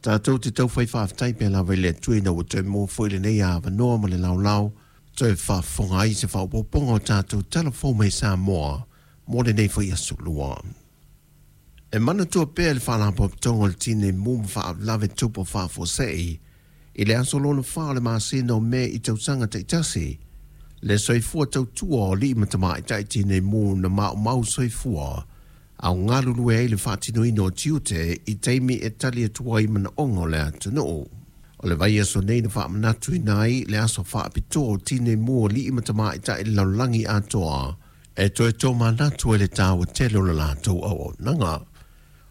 Tatou te taufai faafetai pea lava i le Atua ina ua toe maua foi lenei avanoa ma le laolao toe faafofoga ai se faaopoopoga o tatou Tala Fou mai Samoa mo lenei foi aso Lua. E manatua pea le Faalapotopotoga o le Tinei Mu ma Faalavelave Tupu Faafuasei i le aso lona 4 o le masina o Me i tausaga taitasi, le soifua tautua o alii ma tamaitai tinei mu na maumau soifua a o galulue ai le faatinoina o tiute i taimi e tali atu ai manaoga o le atunuu. O le vaiaso nei na faamanatuina ai le aso faapitoa o tinei mu o alii ma tamaitai i le lalolagi atoa e toe tomanatu ai le taua tele o le latou auaunaga.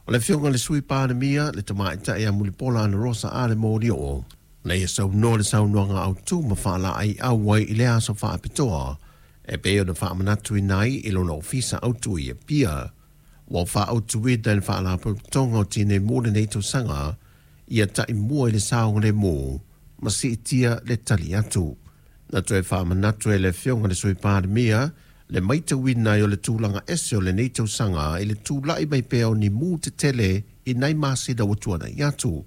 O le Afioga i le Sui Palemia, le Tamaitai ia Mulipola Anarosa Ale Molioo, na ia saunoa le saunoaga autu ma faalaeiau ai i le aso faapitoa e pei ona faamanatuina ai i lona ofisa autu i Apia. Ua faaautuina e le Faalapotopotoga o Tinei Mu lenei tausaga ia taimua i le saogalemu ma siitia le tali atu. Na toe faamanatu e le Afioga i le Sui Palemia le maitauina ai o le tulaga ese o lenei tausaga i le tulai mai pea o ni mu tetele i nai masina ua tuanai atu.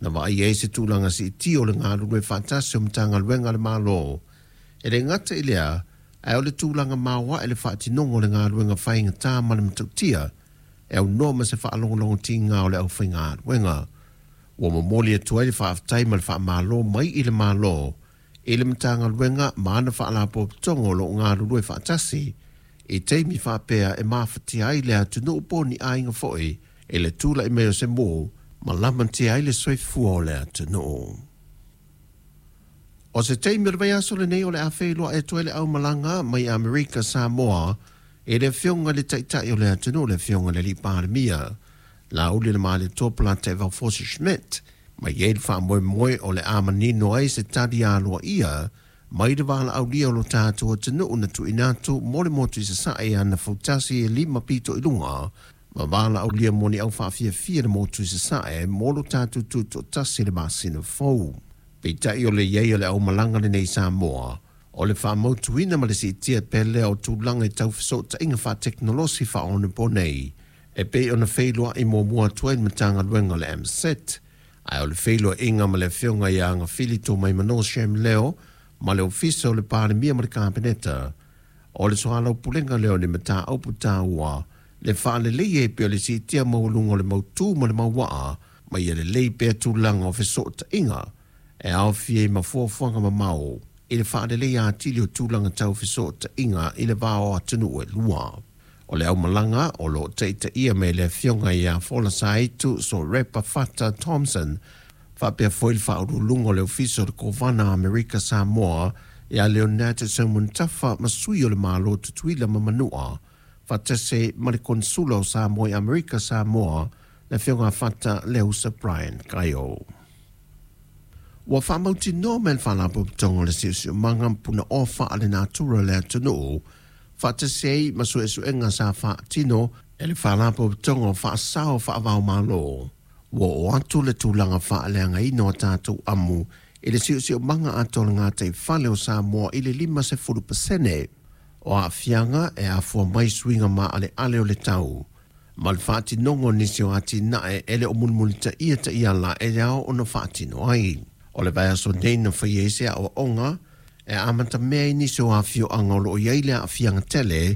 Na vaaia ai se tulaga siitia o le galulue faatasi o Matagaluega a le Malo. E le gata i lea, ae o le tulaga maoae le faatinoga o le galuega faigata ma le matautia e aunoa ma se faalogologotiga o le aufaigaluega. Ua momoli atu ai le faafetai ma le faamalo mai i le Malo i le Matagaluega ma ana faalapotopotoga o lo o galulue faatasi i taimi faapea e mafatia ai le atunuu po o ni aiga foi i le tulai mai o se mu ma lamatia ai le soifua o le atunuu. O se taimi o le vaiaso lenei o le a feiloai atu ai le aumalaga mai Amerika Samoa i le Afioga i le Taitai o le atunuu, le Afioga i le Alii Palemia, Laauli le Malietoa Polataivao Fosi Schmidt, ma i ai le faamoemoe o le a manino ai se tali aloaia mai le valaaulia o lo tatou atunuu na tuuina atu mo le motu i Sasae ana fautasi e 5 pito i luga ma valaaulia mo ni aufaafiafia i le motu i Sasae mo lo tatou tutoatasi i le masina fou. Peitai o le i ai o le aumalaga lenei i Samoa, o le faamautuina ma le siitia pea lea o tulaga i tau fesootaiga faatekonolosi faaonaponei e pei ona feiloai muamua atu ai le Matagaluega o le MSET, ae o le feiloaiga ma le Afioga ia Agafili Tumaimano Shem Leo ma le Ofisa o le Palemia ma le Kapeneta, o le soalaupulega lea o ni mataupu taua le faaleleia e pei o le siitia maualuga o le mautu ma le mauaa ma ia lelei pea tulaga o fesootaiga e aofia ai ma fuafuaga mamao i le faaleleia atili o tulaga tau fesootaiga i le va o atunuu e lua. O le aumalaga o lo o taitaia mai e le Afioga ia Folasaitu Sorepa Fata Thompson faapea foi le Faauluuluga o le Ofisa o le Kovana Amerika Samoa ia Leonard Seumanutafa ma sui o le Malo Tutuila ma Manua faatasi ai ma le Konesula o Samoa i Amerika Samoa le Afioga Fata Leusa Brian Kaio. Ua faamautinoa mai e le Faalapotopotoga o le Siosiomaga ma Punaoa Faalenatura o le atunuu faatasi ai ma suesuega sa faatino e le Faalapotopotoga o Faasao Faava-o-Malo, ua oo atu le tulaga faaleagaina o tatou amu i le siosiomaga atoa o le gataifale o Samoa i le 50%. O aafiaga e afua mai suiga maaleale o le tau ma le faatinoga o nisi o atinae e le o mulimulitaia taiala e ao ona faatino ai. O le vaiaso nei na faia ai se aoaoga e amatamea i nisi o afioaga o lo o i ai le aafiaga tele.